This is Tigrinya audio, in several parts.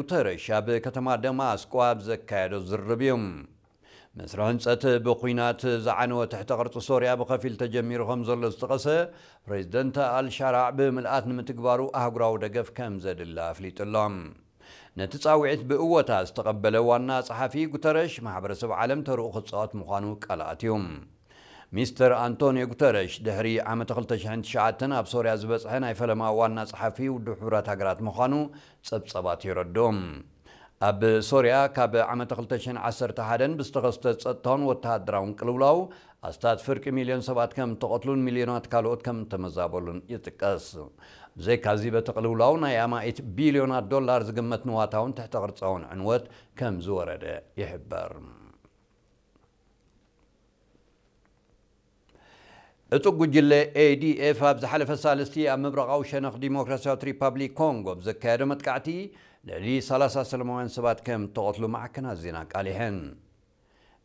ጉተረሽ ኣብ ከተማ ደማስቆ ኣብ ዘካየዶ ዝርርብ እዩ። መስርሕ ህንጸት ብኹናት ዝዓነወ ትሕተ ቅርጺ ሶርያ ብኸፊል ተጀሚሩ ከም ዘሎ ዝጠቐሰ ፕሬዚደንት ኣልሻራዕ ብምልኣት ንምትግባሩ ኣህጉራዊ ደገፍ ከም ዘድሊ ኣፍሊጡ ኣሎ። ነቲ ጻውዒት ብእወታ ዝተቐበለ ዋና ጸሓፊ ጉተረሽ ማሕበረሰብ ዓለም ተርኡ ክጻወት ምዃኑ ቃል ኣትዩ። ሚስተር ኣንቶኒዮ ጉተረሽ ድሕሪ ዓመተ ክልተ ሽሕን ትሽዓተን ኣብ ሶርያ ዝበጽሐ ናይ ፈለማ ዋና ጸሓፊ ውድብ ሕቡራት ሃገራት ምዃኑ ጸብጸባት የረድኡ። ኣብ ሶርያ ካብ ዓመተ ክልተ ሽሕን ዓሰርተ ሓደን ብዝተኸስተ ጸጥታውን ወተሃደራውን ቅልውላው ኣስታት ፍርቂ ሚልዮን ሰባት ከም ተቐትሉን ሚልዮናት ካልኦት ከም ተመዛበሉን ይጥቀስ። ብዘይካዚ በቲ ቅልውላው ናይ ኣማኢት ቢልዮናት ዶላር ዝግመት ንዋታውን ትሕተ ቅርጻውን ዕንወት ከም ዝወረደ ይሕበር። ዕጡቕ ጉጅለ ኤ ዲ ኤፍ ኣብ ዝሓለፈ ሳልስቲ ኣብ ምብራቓዊ ሸነኽ ዲሞክራሲያዊት ሪፓብሊክ ኮንጎ ብዘካየዶ መጥቃዕቲ ልዕሊ ሰላሳ ሰላማውያን ሰባት ከም ተቐትሉ ማዕከናት ዜና ኣቃሊሐን።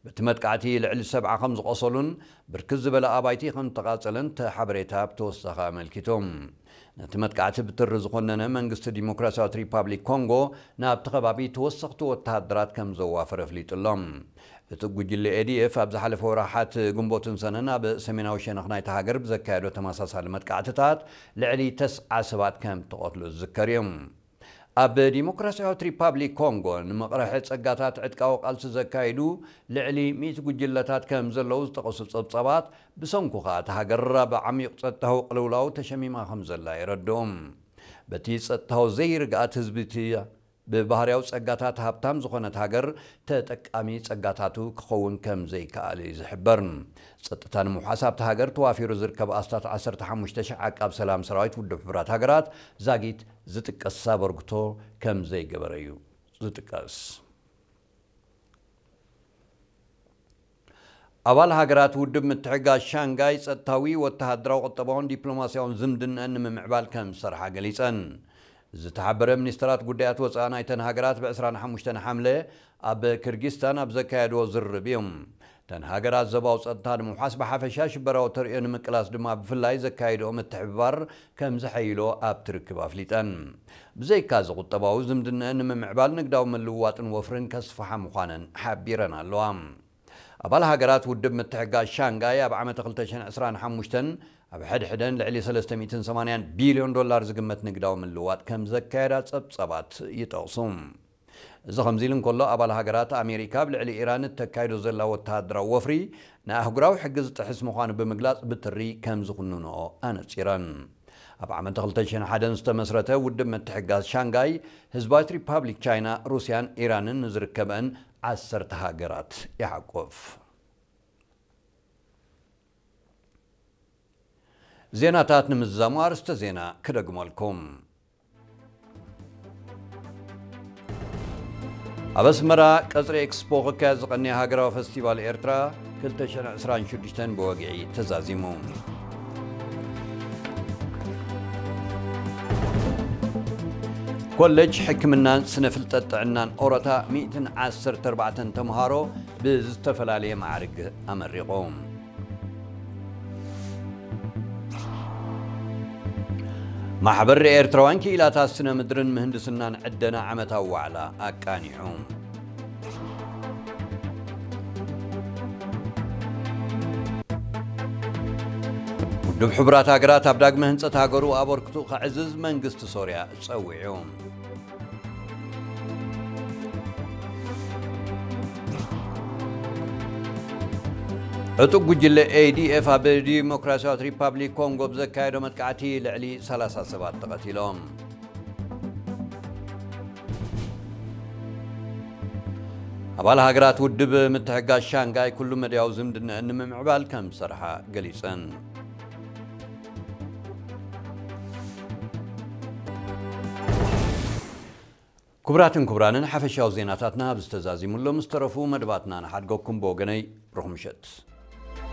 በቲ መጥቃዕቲ ልዕሊ ሰብዓ ከም ዝቖሰሉን ብርክት ዝበለ ኣባይቲ ከም ተቓጸለን እቲ ሓበሬታ ብተወሳኺ ኣመልኪቱ። ነቲ መጥቃዕቲ ብትሪ ዝኾነነ መንግስቲ ዲሞክራሲያዊት ሪፓብሊክ ኮንጎ ናብቲ ከባቢ ተወሰኽቲ ወተሃደራት ከም ዘዋፈረ ኣፍሊጡ ኣሎ። እቲ ጉጅለ ኤ ዲ ኤፍ ኣብ ዝሓለፈ ወርሓት ግንቦትን ሰነን ኣብ ሰሜናዊ ሸነኽ ናይቲ ሃገር ብዘካየዶ ተመሳሳሊ መጥቃዕትታት ልዕሊ ተስዓ ሰባት ከም ተቐትሉ ዝዝከር እዩ። ኣብ ዲሞክራሲያዊት ሪፓብሊክ ኮንጎ ንምቕርሒ ጸጋታት ዕጥቃዊ ቃልሲ ዘካይዱ ልዕሊ ሚእቲ ጉጅለታት ከም ዘለዉ ዝጠቐሱ ጸብጻባት፣ ብሰንኩ ከኣ እታ ሃገር ኣብ ዓሚቕ ጸጥታዊ ቅልውላው ተሸሚማ ከም ዘላ የረድኡ። በቲ ጸጥታዊ ዘይርግኣት ህዝቢ እቲ ብባህርያዊ ጸጋታት ሃብታም ዝኾነት ሃገር ተጠቃሚ ጸጋታቱ ክኸውን ከም ዘይከኣል እዩ ዝሕበር። ጸጥታ ንምውሓስ ኣብታ ሃገር ተዋፊሩ ዝርከብ ኣስታት ዓሰርተ ሓሙሽተ ሺሕ ዓቃብ ሰላም ሰራዊት ውድብ ሕቡራት ሃገራት ዛጊት ዝጥቀስ ኣበርክቶ ከም ዘይገበረ እዩ ዝጥቀስ። ኣባል ሃገራት ውድብ ምትሕግጋዝ ሻንጋይ ጸጥታዊ፣ ወተሃደራዊ፣ ቁጠባውን ዲፕሎማስያውን ዝምድነአን ንምምዕባል ከም ዝሰርሓ ገሊጸን። ዝተሓበረ ሚኒስተራት ጉዳያት ወጻኢ ናይተን ሃገራት ብ ዕስራን ሓሙሽተን ሓምለ ኣብ ክርጊስታን ኣብ ዘካየድዎ ዝርርብ እዮም። እተን ሃገራት ዞባዊ ጸጥታ ንምውሓስ ብሓፈሻ ሽበራዊ ተርእዮ ንምቅላስ ድማ ብፍላይ ዘካየድኦ ምትሕብባር ከም ዘሐይሎ ኣብቲ ርክብ ኣፍሊጠን። ብዘይካዚ ቁጠባዊ ዝምድነአን ንምምዕባል ንግዳዊ ምልውዋጥን ወፍርን ከስፍሓ ምዃነን ሓቢረን ኣለዋ። ኣባል ሃገራት ውድብ ምትሕግጋዝ ሻንጋይ ኣብ ዓመተ ክልተ ሽሕን ዕስራን ሓሙሽተን ኣብ ሕድሕደን ልዕሊ ሰለስተ ሚእትን ሰማንያን ቢልዮን ዶላር ዝግመት ንግዳዊ ምልውዋጥ ከም ዘካየዳ ጸብጻባት ይጠቕሱ። እዚ ከምዚ ኢሉ እንከሎ፣ ኣባል ሃገራት ኣሜሪካ ኣብ ልዕሊ ኢራን እተካይዶ ዘላ ወተሃደራዊ ወፍሪ ንኣህጉራዊ ሕጊ ዝጥሕስ ምዃኑ ብምግላጽ ብትሪ ከም ዝኹንንኦ ኣነጺረን። ኣብ ዓመተ ክልተ ሽሕን ሓደን ዝተመስረተ ውድብ ምትሕግጋዝ ሻንጋይ ህዝባዊት ሪፓብሊክ ቻይና፣ ሩስያን ኢራንን ንዝርከበን ዓሰርተ ሃገራት ይሓቁፍ። ዜናታት ንምዝዛሙ ኣርእስተ ዜና ክደግመልኩም። ኣብ ኣስመራ ቀጽሪ ኤክስፖ ክካየድ ዝቐነየ ሃገራዊ ፈስቲቫል ኤርትራ ክልተ ሽሕን ዕስራን ሽዱሽተን ብወግዒ ተዛዚሙ። ኮሌጅ ሕክምናን ስነ ፍልጠት ጥዕናን ኦሮታ ሚእትን ዓሰርተ ኣርባዕተን ተምሃሮ ብዝተፈላለየ ማዕርግ ኣመሪቑ። ማሕበር ኤርትራውያን ክኢላታት ስነ ምድርን ምህንድስናን ዕደና ዓመታዊ ዋዕላ ኣቃኒዑ። ውድብ ሕቡራት ሃገራት ኣብ ዳግመ ህንጸት ሃገሩ ኣበርክቱ ከዕዝዝ መንግስቲ ሶርያ ጸዊዑ። ዕጡቕ ጉጅለ ኤ ዲ ኤፍ ኣብ ዲሞክራሲያዊት ሪፓብሊክ ኮንጎ ብዘካየዶ መጥቃዕቲ ልዕሊ ሰላሳ ሰባት ተቐቲሎም። ኣባል ሃገራት ውድብ ምትሕግጋዝ ሻንጋይ ኩሉ መድያዊ ዝምድነአን ንምምዕባል ከም ዝሰርሓ ገሊጸን። ክቡራትን ክቡራንን፣ ሓፈሻዊ ዜናታትና ኣብዚ ተዛዚሙ ኣሎ። ምስ ተረፉ መደባትና ንሓድገኩም። ብወገነይ ርኹም ምሸት።